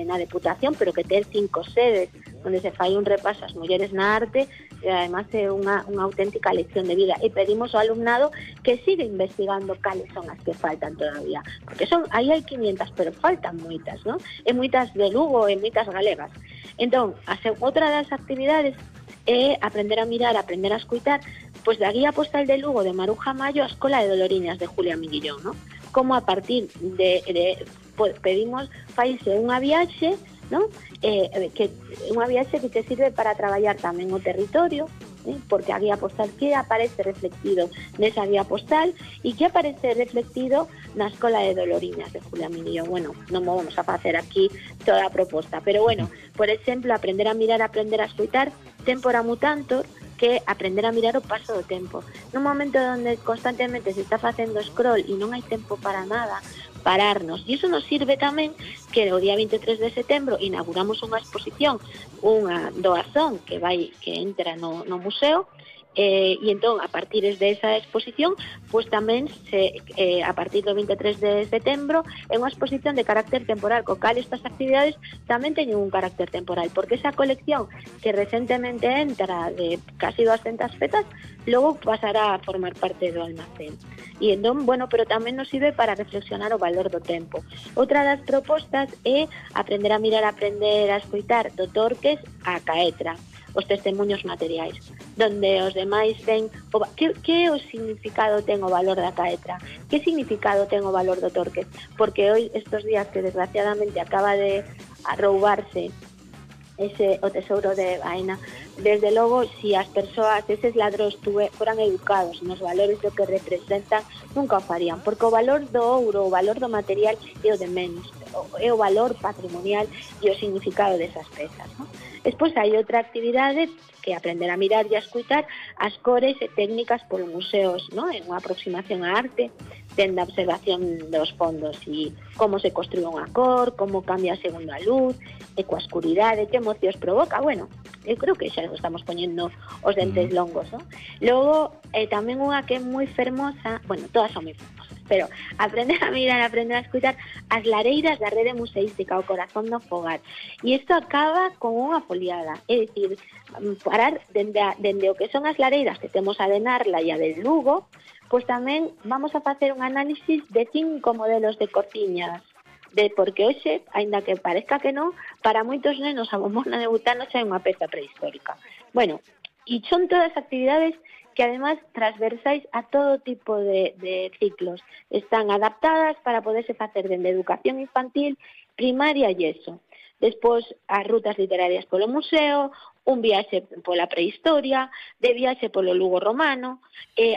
na Deputación, pero que ten 5 sedes, onde se fai un repaso ás mulleres na arte, e además é unha auténtica lección de vida. E pedimos ao alumnado que siga investigando cales son as que faltan todavía, porque aí hai 500, pero faltan moitas, non? E moitas de Lugo e moitas galegas. Entón, outra das actividades é aprender a mirar, aprender a escutar, pois da guía postal de Lugo de Maruja Mayo a Escola de Doloriñas de Julia Miguillón, non? Como a partir pedimos faise unha viaxe, non? Que unha viaxe que te sirve para traballar tamén o territorio, porque a guía postal que aparece reflectido nesa guía postal e que aparece reflectido na Escola de Doloriñas de Julia Miguillón. Bueno, non vamos a facer aquí toda a proposta, pero bueno, por exemplo, aprender a mirar, aprender a escoitar, tempora mutantor, que aprender a mirar o paso do tempo. Nun momento onde constantemente se está facendo scroll e non hai tempo para nada, pararnos. E iso nos sirve tamén que o día 23 de setembro inauguramos unha exposición, unha doazón que entra no museo, e entón, a partir desa exposición, pois tamén a partir do 23 de setembro é unha exposición de carácter temporal, co cal estas actividades tamén teñen un carácter temporal, porque esa colección que recentemente entra de casi 200 pezas, logo pasará a formar parte do almacén. E entón, bueno, pero tamén nos sirve para reflexionar o valor do tempo. Outra das propostas é aprender a mirar, aprender a escoitar do Torques a Caetra, os testemunhos materiais, donde os demais ten que o significado ten o valor da Caetra, que significado ten o valor do Torques, porque hoy, estos días que desgraciadamente acaba de roubarse o tesouro de Baena, desde logo, si as persoas, eses ladróns foran educados nos valores do que representan, nunca o farían, porque o valor do ouro, o valor do material é o de menos, é o valor patrimonial e o significado desas pezas, non? Despois hai outra actividade que é aprender a mirar e a escutar as cores e técnicas polos museos, non? En unha aproximación á arte, tendo a observación dos fondos e como se construye unha cor, como cambia segundo a luz, e coa escuridade, que emocións provoca. Bueno, eu creo que xa estamos poñendo os dentes longos, non? Logo, tamén unha que é moi fermosa, bueno, todas son moi fermosas, pero aprender a mirar, aprender a escutar as lareiras da rede museística, o corazón do fogar. E isto acaba con unha foliada, é dicir, parar dende o que son as lareiras que temos a de Narla e a de Lugo, pois tamén vamos a facer un análisis de 5 modelos de cociñas, porque hoxe, aínda que parezca que non, para moitos nenos a bombona de butano xa é unha peza prehistórica. Bueno, e son todas actividades que además transversais a todo tipo de ciclos. Están adaptadas para poderse facer dende educación infantil, primaria e eso. Despois, as rutas literarias polo museo, un viaxe pola prehistoria, de viaxe polo Lugo romano,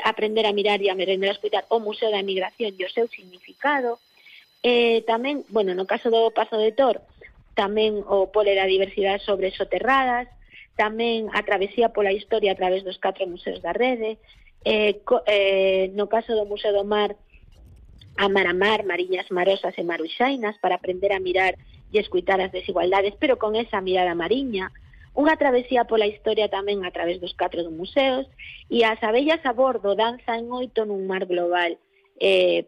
aprender a mirar e aprender a escutar o Museo da Emigración e o seu significado. Tamén, bueno, no caso do Pazo de Tor, tamén o pole da diversidade sobre soterradas, tamén a travesía pola historia a través dos 4 museos da rede, no caso do Museo do Mar, a mar, mariñas marosas e maruxainas, para aprender a mirar e escutar as desigualdades, pero con esa mirada mariña, unha travesía pola historia tamén a través dos 4 museos, e as abellas a bordo, danza en 8 nun mar global.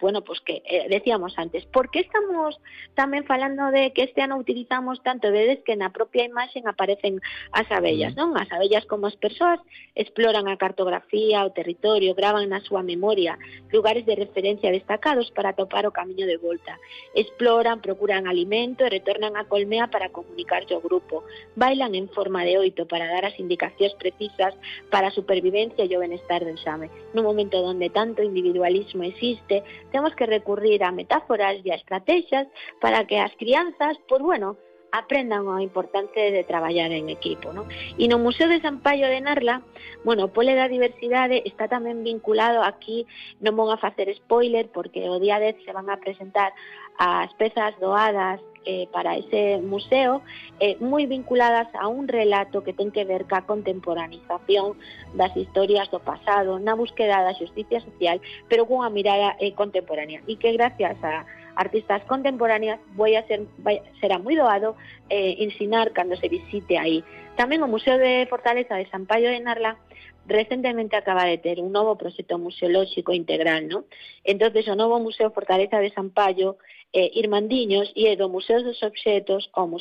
Bueno, pues que decíamos antes, por que estamos tamén falando de que este ano utilizamos tanto, vedes que na propia imaxen aparecen as abellas, non? As abellas como as persoas exploran a cartografía, o territorio, gravan na súa memoria lugares de referencia destacados para topar o camiño de volta. Exploran, procuran alimento e retornan a colmea para comunicarse ao grupo. Bailan en forma de 8 para dar as indicacións precisas para a supervivencia e o benestar do enxame. Nun momento onde tanto individualismo existe, temos que recurrir a metáforas e a estrategias para que as crianzas, pues bueno, aprendan a importancia de traballar en equipo, ¿no? E no Museo de San Paio de Narla, bueno, o pole da diversidade está tamén vinculado aquí, non vou a facer spoiler, porque o día 10 se van a presentar as pezas doadas para ese museo, moi vinculadas a un relato que ten que ver ca contemporanización das historias do pasado, na búsqueda da xusticia social, pero cunha mirada contemporánea, e que gracias a artistas contemporáneas será moi doado ensinar cando se visite aí. Tamén o Museo de Fortaleza de San Paio de Narla recentemente acaba de ter un novo proxecto museolóxico integral, ¿no? Entonces, o novo Museo Fortaleza de San Paio, Irmandiños, e do Museo dos Obxetos ao Museo